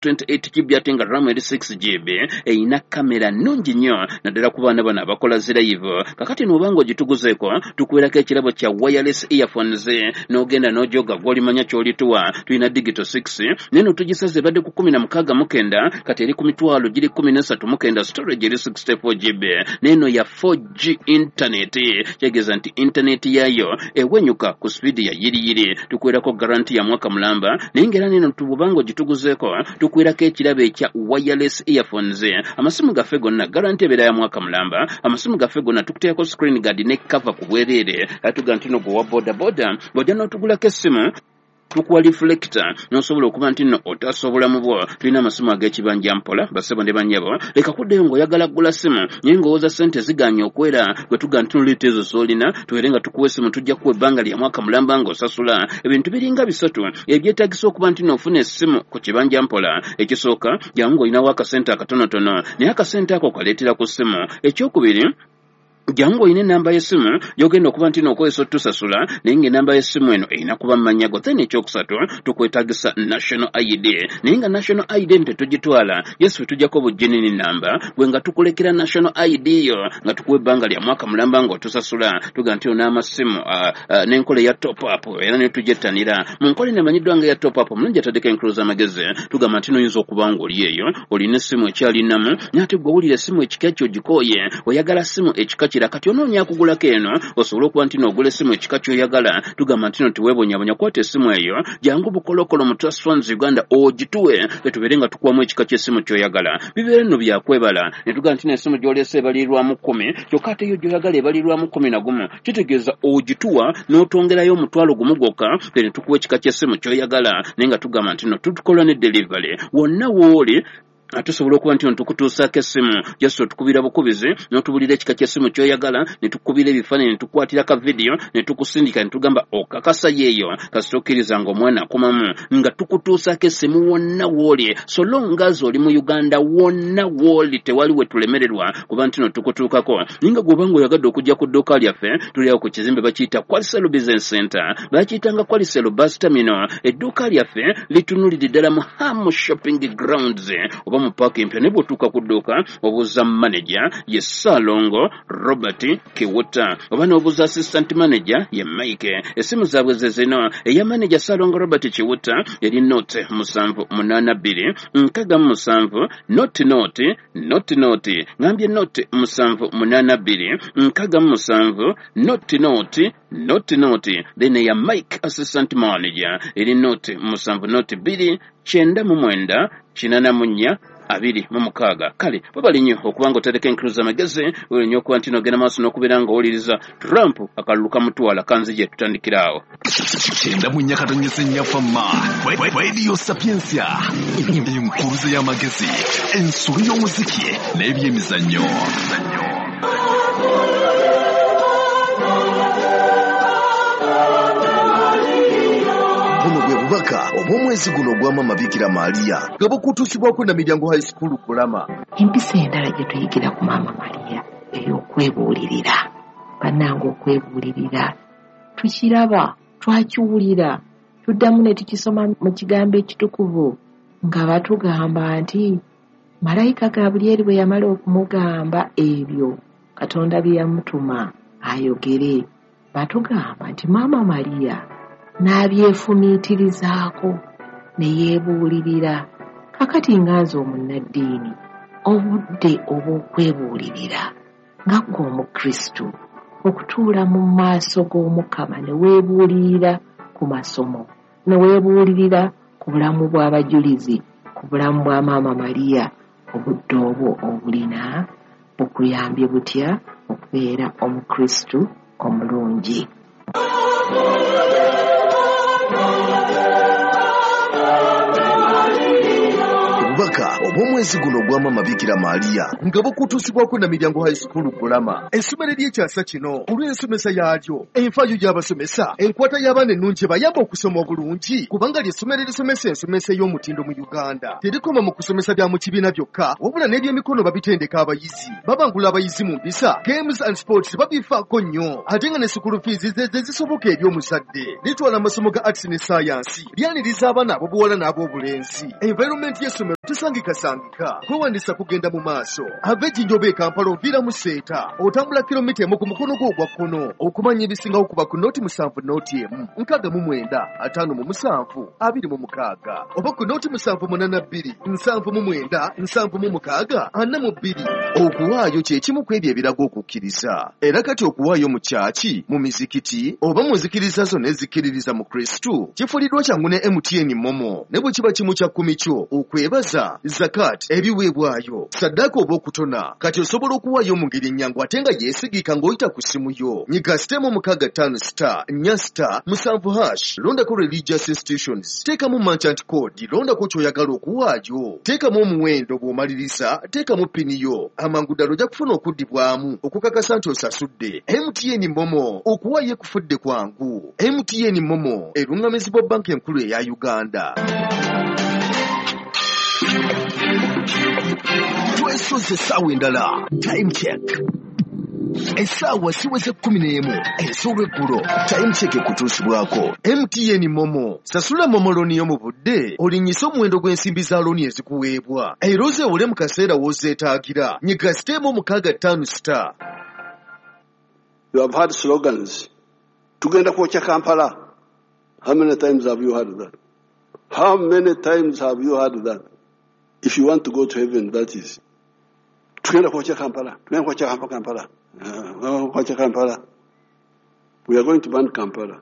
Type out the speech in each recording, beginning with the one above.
28 GB ate nga RAM eri 6 GB, erina kamera nnungi nnyo naddala ku baana bano abakola zi live. Kakati n'obanga ogituguzeeko, tukuweerako ekirabo kya wireless earphones, n'ogenda n'ojoga gw'olimanya ky'olituwa. Tulina digital 6 naye no tugisaze, ebadde ku 169, kati eri ku mitwalo giri 139, storage eri 64 GB. N'eno ya 4G internet, kitegeeza nti internet yaayo ewenyuka ku sipiidi ya yiriyiri. Tukuweerako guarantee ya mwaka mulamba, naye ng'era neno bw'obanga ogituguzeeko tukuweerako ekirabo ekya wireless earphones. Amasimu gaffe gonna guarantee ebeera ya mwaka mulamba. Amasimu gaffe gonna tukuteekako screen guard ne cover ku bwereere. Atuga nti no gwe wa boda boda, bw'ojja n'otugulako essimu tukuwa reflector n'osobola okuba nti nno otaasa obulamu bwo. Tulina amasimu ag'ekibanja mpola. Bassebo ne bannyabo, leka kuddayo ng'oyagala kugula ssimu naye ng'owooza ssente ziganye okwera. Gwe tuga nti noleeta ezo z'olina, tubeere nga tukuwa essimu, tujja kuwa ebbanga lya mwaka mulamba ng'osasula. Ebintu biringa bisatu ebyetaagisa okuba nti n'ofuna essimu ku kibanja mpola. Ekisooka, jangu ng'olinawo akasente akatonotono, naye akasente ako kaleetera ku ssimu. Ekyokubiri, jangu olina enamba y'essimu gy'ogenda okuba nti n'okozesa otusasula, naye ng'enamba y'essimu eno erina kuba mu mannya go. Then ekyokusatu, tukwetaagisa national ID, naye nga national ID eno tetugitwala yesu, tujjako bujinini namba gwe nga tukulekera national ID yo, nga tukuwa ebbanga lya mwaka mulamba ng'otusasula. Tuga nti n'amasimu n'enkola eya top up era ne tugyettanira mu nkola eno emanyiddwa nga eya top up. Omulungi ataddeko enkulu z'amagezi, tugamba nti noyinza okuba ng'oli eyo olina essimu ekyalinamu, naye ate gwe owulira essimu ekika kyo ogikooye, oyagala ssimu ekika kira. Kati onoonya akugulako eno osobole okuba nti n'ogula essimu ekika ky'oyagala. Tugamba nti no teweebonyabonya, kwata essimu eyo, jangu Bukolokolo mu Trust Funds Uganda ogituwe, etubeere nga tukuwamu ekika ky'essimu ky'oyagala. Bibeere nno byakwebala ne tugamba nti n'essimu gy'oleese ebalirirwamu 10, kyokka ate yo gy'oyagala ebalirirwamu 11. Kitegeeza ogituwa n'otwongerayo 10,000 gwokka, ne tukuwa ekika ky'essimu ky'oyagala. Naye nga tugamba nti no tutukola ne delivery wonna w'oli, tusobola okuba nti tukutuusaako essimu. Just otukubira bukubizi n'otubulira ekika ky'essimu ky'oyagala, ne tukubira ebifaananyi, ne tukukwatira ka vidiyo ne tukusindika, ne tugamba okakasa yeeyo. Kasita okkiriza ng'omwana akomamu, nga tukutuusaako essimu wonna w'oli, so long as oli mu Uganda. Wonna w'oli tewali we tulemererwa kuba nti no tukutuukako. Naye nga gw'oba ng'oyagadde okujja ku dduuka lyaffe, tuli awo ku kizimbe bakiyita Qualicel Business Center, bakiyitanga Qualicel Bus Terminal. Edduuka lyaffe litunulidde ddala mu Ham Shopping Grounds oba mu paaka empya, naye bw'otuuka ku dduuka obuuza manager, ye Saalongo Robert Kiwuta, oba n'obuuza assistant manager, ye Mike. Essimu zaabwe ze zino: eya manager Saalongo Robert Kiwuta eri 0 782 67 0 0 0 0. Ngambye 0 782 67 0 0 0 0. Then eya Mike, assistant manager, eri 0 7 0 2 99 84 26. Kale webali nnyo okuba nga otereka enkulu z'amagezi, webali nnyo okuba nti nogenda maaso n'okubeera nga owuliriza Trump akalulu kamutwala. Kanzije tutandikira awo. 94.4 Fama Radio Sapientia, enkuluze y'amagezi, ensolo y'omuziki n'ebyemizannyo. Buno bwe bubaka obw'omwezi guno ogwa Mama Bikira Maria, nga bukutuusibwako na Miryango High School Kulama. Empisa endala gye tuyigira ku Maama Mariya ey'okwebuulirira. Bannange, okwebuulirira tukiraba, twakiwulira, tuddamu ne tukisoma mu kigambo ekitukuvu nga batugamba nti malayika Gabulyeri bwe yamala okumugamba ebyo Katonda bye yamutuma ayogere, batugamba nti Maama Mariya n'abyefumiitirizaako ne yeebuulirira. Kakati nga nze omunnaddiini, obudde obw'okwebuulirira nga ggwe Omukristu okutuula mu maaso g'Omukama ne weebuulirira ku masomo, ne weebuulirira ku bulamu bw'abajulizi, ku bulamu bwa Maama Mariya, obudde obwo obulina bukuyambye butya okubeera Omukristu omulungi? bubaka obw'omwezi guno ogwa Maama Bikira Maria nga bukutuusibwako Namiryango High School Kulama, essomero ery'ekyasa kino olw'ensomesa yaalyo, enfaayo y'abasomesa, enkwata y'abaana ennungi bayamba okusoma obulungi, kubanga ly'essomero erisomesa ensomesa ey'omutindo mu Uganda. Terikoma mu kusomesa bya mu kibiina byokka, wabula n'ebyemikono babitendeka abayizi, babangula abayizi mu mpisa, games and sports babifaako nnyo, ate nga ne school fees ze zisoboka eri omuzadde. Litwala amasomo ga arts ne science, lyaniriza abaana ab'obuwala n'ab'obulenzi. Environment y'essomero tesangikasangika, kwewandiisa kugenda mu maaso. Ava Ejinja oba e Kampala oviira mu Seeta, otambula kilomita 1 ku mukono gwo ogwa kkono. Okumanya ebisingawo kuba ku 07 01 69 57 26 oba ku 0782 79 76 42. Okuwaayo kye kimu ku ebyo ebiraga okukkiriza. Era kati okuwaayo mu kyaki, mu mizikiti oba mu nzikiriza zonna ezikkiririza mu Kristo kifuliddwa kyangu ne MTN Momo, ne bwe kiba kimu kya kkumi kyo, okwebaza, zakat, ebiweebwayo, saddaaka oba okutona. Kati osobola okuwaayo mu ngeri ennyangu ate nga yeesigika ng'oyita ku ssimu yo. Nyiga *654 *4 *7#, londako religious institutions, teekamu merchant code, londako ky'oyagala okuwaayo, teekamu omuwendo, bw'omaliriza teekamu pini yo. Amangu ddala ojja kufuna okuddibwamu okukakasa nti osasudde. MTN Momo, okuwaayo ekufudde kwangu. MTN Momo eruŋŋamizibwa Banka Enkulu eya Uganda. Twesoze essaawa endala. Time check. Essaawa ziweze 11 ez'olweggulo. Time check ekutuusibwako MTN Momo. Sasula Momo looni yo mu budde, olinnyise omuwendo gw'ensimbi za looni ezikuweebwa, era ozeewole mu kaseera w'ozeetaagira. Nyiga *654*. You have heard slogans. Tugenda kwokya Kampala. How many times have you heard that? How many times have you heard that? If you want to go to heaven, that is. Tugenda kwokya Kampala. Tugenda kwokya Kampala. Kwokya Kampala. We are going to burn Kampala.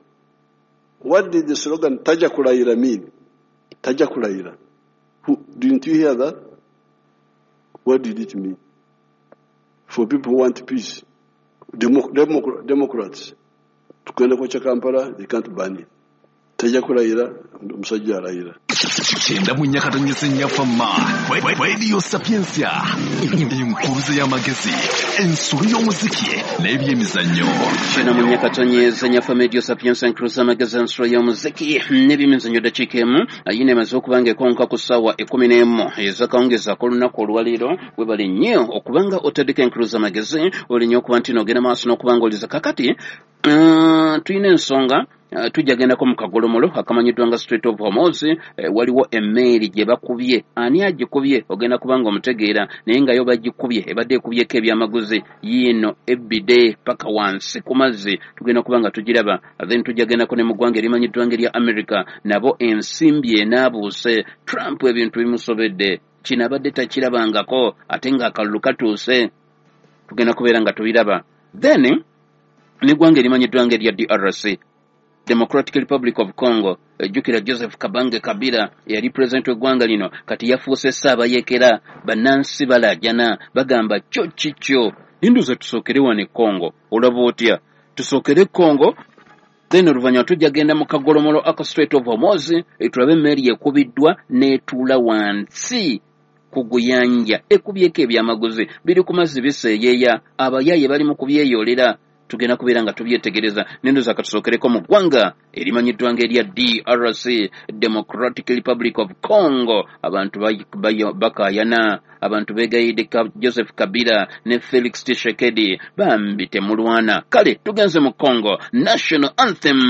What did the slogan Taja Kulayira mean? Taja Kulayira. Didn't you hear that? What did it mean? For people who want peace. Democrats. Tugenda kwokya Kampala, they can't burn it. Taja kulayira, omusajja alayira. 94.4 Fama, Radio Sapientia, enkuruze y'amagezi, ensulu y'omuziki n'ebyemizannyo. 94.4 Fama, Radio Sapientia, enkuruze y'amagezi, ensulu y'omuziki n'ebyemizannyo. Dakiika emu ayina emaze okuba nga ekonka ku ssaawa 11 ez'akawungeezi ak'olunaku olwaleero. Webale nnyo okubanga otaddeko enkuruze y'amagezi, oli nnyo okuba nti n'ogenda maaso n'okuba nga oliza. Kakati tulina ensonga, tujja gendako mu kagolomolo akamanyiddwa nga Strait of Hormuz. Waliwo emmeeri gye bakubye. Ani agikubye ogenda kubanga omutegeera, naye nga yo bagikubye ebadde ekubyeko ebyamaguzi yiino ebide paka wansi ku mazzi, tugenda kuba nga tugiraba. Then tujja gendako ne mu ggwanga erimanyiddwa nga erya America, nabo ensimbi enaabuuse. Trump ebintu bimusobedde, kino abadde takirabangako ate ng'akalulu katuuse, tugenda kubeera nga tubiraba. Then n'eggwanga erimanyiddwa nga erya DRC, Democratic Republic of Congo, jjukira Joseph Kabange Kabila eyali pulezidenti w'eggwanga lino, kati yafuuse ssaabayeekera. Bannansi balaajana, bagamba kyo kikyo. Ninduza tusookere wano e Congo, olaba otya? Tusookere Congo, then oluvannyuma tujja genda mu kagolomolo aka Strait of Hormuz, tulabe emmeeri ekubiddwa n'etuula wansi ku guyanja, ekubyeko ebyamaguzi biri ku mazzi biseeyeeya, abayaaye bali mu kubyeyoolera. Tugenda kubeera nga tubyetegereza. Nendoza katusookereko mu ggwanga erimanyiddwa nga erya DRC, Democratic Republic of Congo. Abantu bakaayana, abantu beegayidde Joseph Kabila ne Felix Tshisekedi, bambi temulwana. Kale tugenze mu Congo. National anthem.